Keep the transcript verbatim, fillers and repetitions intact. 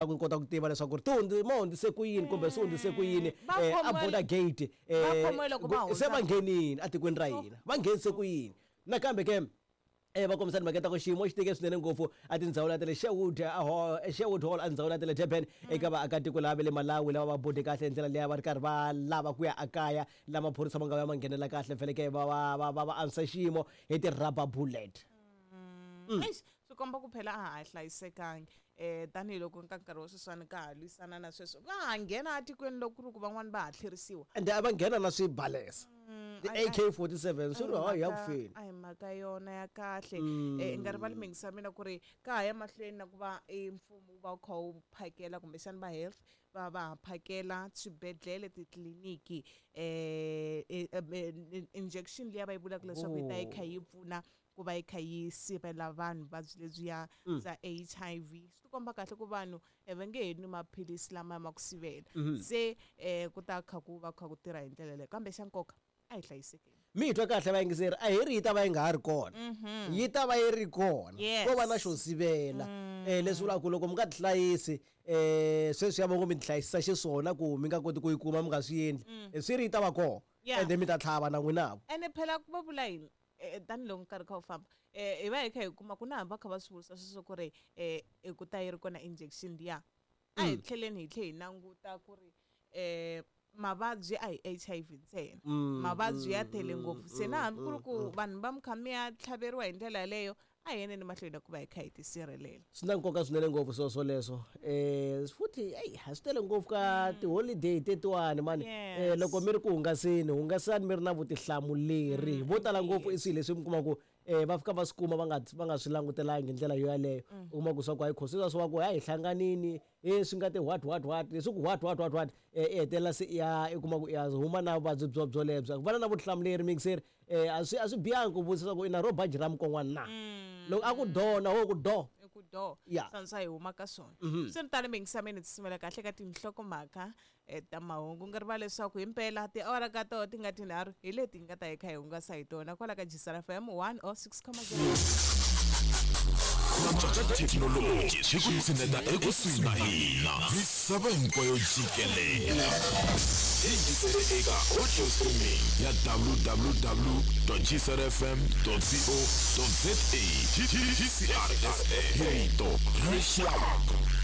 Ku kota ku tiva leswaku ri ti hundzi ma hundzise ku yini kumbe swi hundzise ku yini. Va eh, a khomiwe- border gate eh, va khomiwe loko va se hundza. Va nghenini atikweni ra hina, va nghenise ku yini? Nakambe ke eh va kombisa timhaka ta ku xiyimo xi tike swinene ngopfu a tindhawu ta le Sherwood a hall, Sherwood Hall, a ndhawu ta le Durban, eka vaakatiko lava va le Malawi lava va bode kahle hi ndlela liya, va ri karhi va lava ku ya akaya, la maphorisa ma nga vuya ma nghenela kahle fele ke va va va va va antswisa xiyimo hi ti-rubber bullet. Eish, swi komba ku phela a ha hlayisekangi, um tanihiloko ka nkarhi wa sweswiwani ka ha lwisana na sweswo, va ha nghena atikweni loko ku ri ku van'wani va ha tlherisiwa. Ende a va nghena na swibalesa, ti-A K forty-seven, swi ri hayi ya ku feni. A hi mhaka yona ya kahle. um i nga rivali mingisa mina ku ri ka ha ya mahlweni na ku va e mfumo wu va wu kha wu phakela, kumbexani va health va va ha phakela swibedhlele, titliliniki um injection liya va yi vulaka leswaku yi ta yi kha yi pfuna ku va yi kha yi sivela vanhu vuvabyi lebyiya bya H I V. Swi tikomba kahle ku vanhu eh, va nge he nwi maphilisi lama ma ku sivela, se um ku ta kha ku va kha ku tirha hi ndlela leyo, kambe xa nkoka a hi hlayisekeni. Mi hi twa kahle vayingiseri, a hi ri yi ta va yi nga ha ri kona, yi ta va yi ri kona. Yes. Ko va na xo sivela, um leswi vulaka ku loko mi nga tihlayisi, um sweswi ya vongo mi tihlayisisa xiswona ku mi nga koti ku yi kuma, mi nga swi endli. Eh, swi ri yi ta va kona. Yeah. Ende mi ta tlhava na n'winavo. Ene phela ku va vula yini, eh, tanihiloko nkarhi kha wu famba, um hi va hi kha hi kuma ku na hambi va kha va swi vurisa sweswo ku ri um ku ta yi ri kona injection liya, a hi tlheleni hi tlhe hi languta ku ri um mavabyi a hi H I V ntsena, mavabyi ya tele ngopfu. Se na hambi ku ri ku vanhu va mi kha mi ya tlhaveriwa hi ndlela yaleyo, a hi yeneni mahlweni na ku va hi kha hi tisirhelela. Swi na nkoka swinene ngopfu swilo swoleswo. um futhi eyi, a swi tele ngopfu ka tiholiday tetiwani mani. Yes. um loko mi ri ku hungaseni, hungasani mi ri na vutihlamuleri. Vo tala ngopfu i swilo leswi mi kuma ku um va fika va swi kuma va nga va nga swi langutelangi hi ndlela yo yaleyo. U kuma ku swa ku hayi khosi swa ku hayi hi hlanganini e swi nga ti what what what leswi ku what what what what, um i hetelela se i ya i kuma ku i ya huma na vuvabyi byo byolebyo. Ku va na vutihlamuleri mixeri, um a swi a swi bihangi ku vutisa ku i na ro baji ra mukon'wana na loko a ku do na wo ku do. I ku do. Yeah. Swa hi huma ka swona. Swi ri tano, mingisameni tisimela kahle ka tinhlokomhaka eh, ta mahungu. Nga rivali leswaku himpela tiawara ka toho ti nga tinharhu hi leti hi nga ta hi kha hi hungasa hi tona kwala ka Jisara F M one oh six point zero. Cinca ka thekinoloji swi ku tshineta ekusuhi na hina, misava hinkwayo jikelela. Yingisele eka audio streaming ya W W W G C R F M co za. G C R F M, rito ra rixaka.